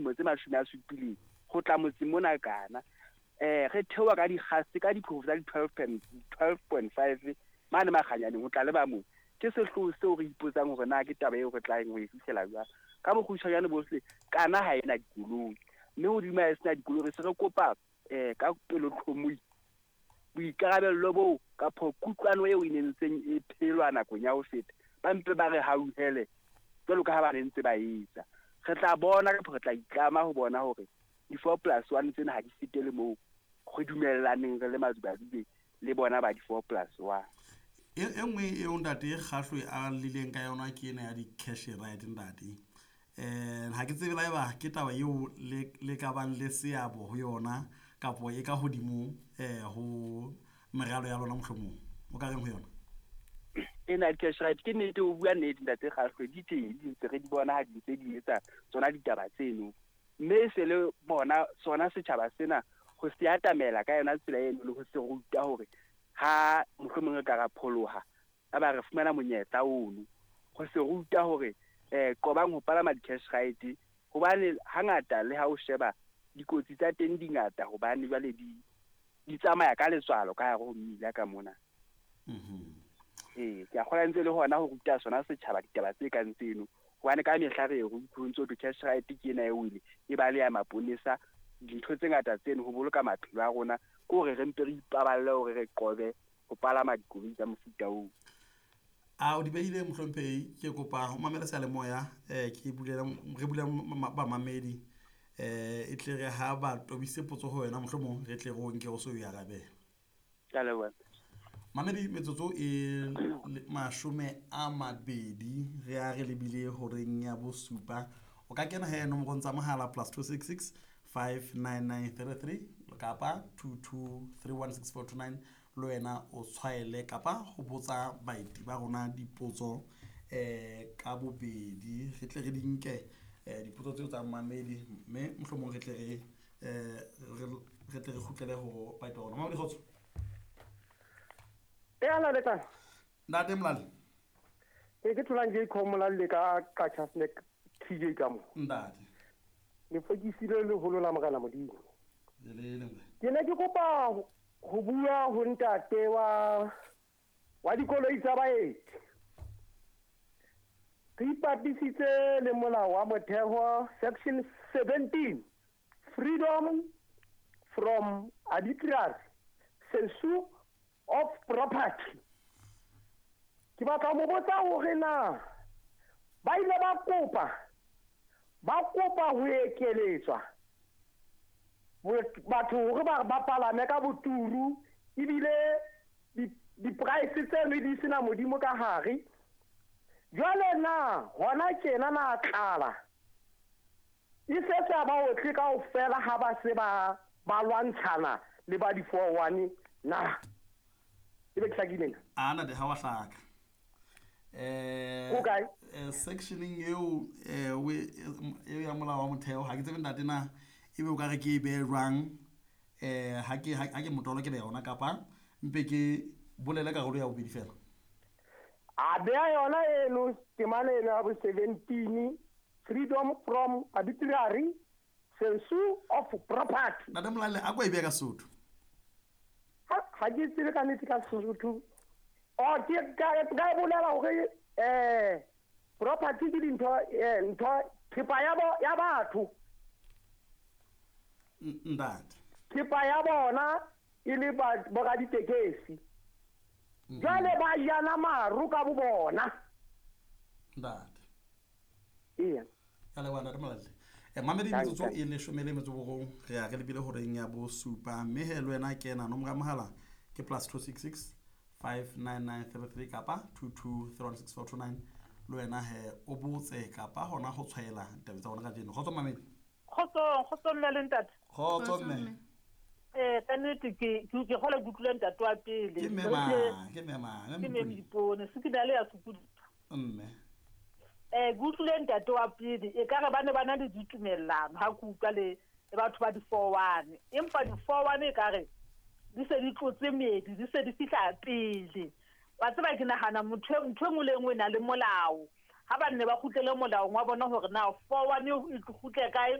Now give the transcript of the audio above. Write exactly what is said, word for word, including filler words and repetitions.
dilemo tse mashome a supileng ho tla motseng mona kana. Eh re theoha ka dikgase ka diphofo tsa di twelve point five mane Makganyaneng ho tla le ba moo. Ke sehloho seo re ipotsang hore na ke taba eo re tlang ho e fihlela jwang. Ka bokgutshwanyane bohle kana ha ena dikoloi, mme hodima e sena dikoloi re se re kopa eh ka pelotlhomohi boikarabello boo kapa kutlwano eo e nentseng e phelwa nakong ya ho feta, ba mpe ba re hauhele jwalo ka ha ba ne ntse ba etsa. Re tla bona kapa re tla itlama ho bona hore di-four plus one tsena ha di fetele moo re dumellaneng re le Madubaduba le bona ba di-four plus one. E e nngwe eo ntate Kgahlwe a lileng ka yona ke ena ya di-cash ride ntate. um ha ke tsebe la eba ke taba eo le le ka bang le seabo ho yona kapo e ka hodimo um ho meralo ya lona, mohlomong o ka reng ho yona? Ena di-cash ride ke nnete, o bua nnete ntate Kgahlwe, di teng, di ntse re di bona ha di ntse di etsa tsona ditaba tseno, mme e se le bona sona setjhaba sena ho se atamela ka yona tsela eno le ho se ruta hore ha mohlomong re ka ra pholoha a ba re fumana monyetla ono ho se ruta hore eh qobang ho palama di-cash ride, hobane hangata le ha o sheba dikotsi tsa teng di ngata, hobane jwale di di tsamaya ka letswalo ka hare ho mmila ka mona. Mhm. Ee, ke a kgolwa ntse le hona ho ruta sona setjhaba ditaba tse kang tseno, hobane ka mehla re re utlwe ntso thwe cash ride ke ena e wele e ba le ya maponesa, dintho tse ngata tseno ho boloka maphelo a rona ke hore re mpe re ipaballe hore re qobe ho palama dikoloi tsa mofuta oo. A o di behile mohlomphehi, ke kopa ho mamele seyalemoya um ke bulele re bulele bamamedi um e tle re ha ba tobise potso ho wena, mohlomong re tle re o nke o so o e arabele. Ke a leboha. Mamedi, metsotso e le- mashome a mabedi re a re lebile horeng ya bosupa. O ka kena he nomorong tsa mohala plus two six six five nine nine three three kapa two two three one six four two nine, le wena o tshwaele kapa ho botsa baeti ba rona dipotso um ka bobedi, re tle re di nke um dipotso tseo tsa mamedi, mme mohlomong re tle re um re tle re kgutlele ho baeti ba rona. Mamedi, kgotso. E ala le kae? Ntate Molale. E ke tholang ke Molalle ka Qacha's Nek T J ka mo. Ntate. Le fokisile leholo la Morena Modimo. Le le le Ke ne ke kopa ho ho bua ho ntate wa wa dikoloi tsa baeti. Re ipapisitse le molao wa motheo section seventeen, freedom from arbitrary censure of property. Ke batla ho mo botsa hore na ba ile ba kopa ba kopa ho ekeletswa bo- batho hore ba ba palame ka boturu, ebile di- di-price tseno di sena modimo ka hare. Jwale na hona tjena na tlala e se sa ba otle kaofela ha ba se ba ba lwantshana le ba di-four one na? E be ke hlakile na? A ntate, ha wa hlaka eh Ho kae? eh, sectioneng eo eh o e eo ya molao wa motheo, ha ke tsebe ntate na ebe o ka re ke e behe jwang eh ha ke ha ke motolo ke le yona kapa mpe ke bolele karolo ya bobedi fela. A beha yona eno temana eno ya bo seventeen, freedom from arbitrary censure of property. Ntate Molale, a ko e behe ka Sesotho. Ha ha ke tsebe ka nnete ka Sesotho. O ke ka ka e bolela hore eh property ke dintho eh ntho thepa ya bo ya batho. N- ntate Thepa ya bona e le ba boraditekesi, jwale ba jana maru ka bo bona. Ntate. Eya. Ka leboha ntate Molale. Eh, mamedi, Thank- metsotso thank. e leshome le metso borong re ya re lebile horeng ya bosupa, mme he le wena kena nomoro ya mohala ke plus two six six five nine nine three three kapa two two three one six four two nine, le wena he o botse kapa hona ho tshwaela ditaba tsa rona kajeno. Kgotso mamedi. Kgotsong, kgotsong mme le ntate. Kgotso mme. Eh ka nnete ke ke ke kgola ke utlwile ntate wa pele. Ke mme mang? Ke mme mang? Ke mme Modipone, se ke na le ya sokodisa. Mme. Eh ke utlwile ntate wa pele, e ka re ba ne ba na le ditumellano ha ke utlwa le le batho ba di-four one, empa di-four one e ka re di se di tlotse meedi, di se di fihla pele. Wa tseba, ke nahana motho e- ntho e nngwe le e nngwe e na le molao. Ha ba nne ba kgutlele molaong wa bona hore na four one e kgutle kae.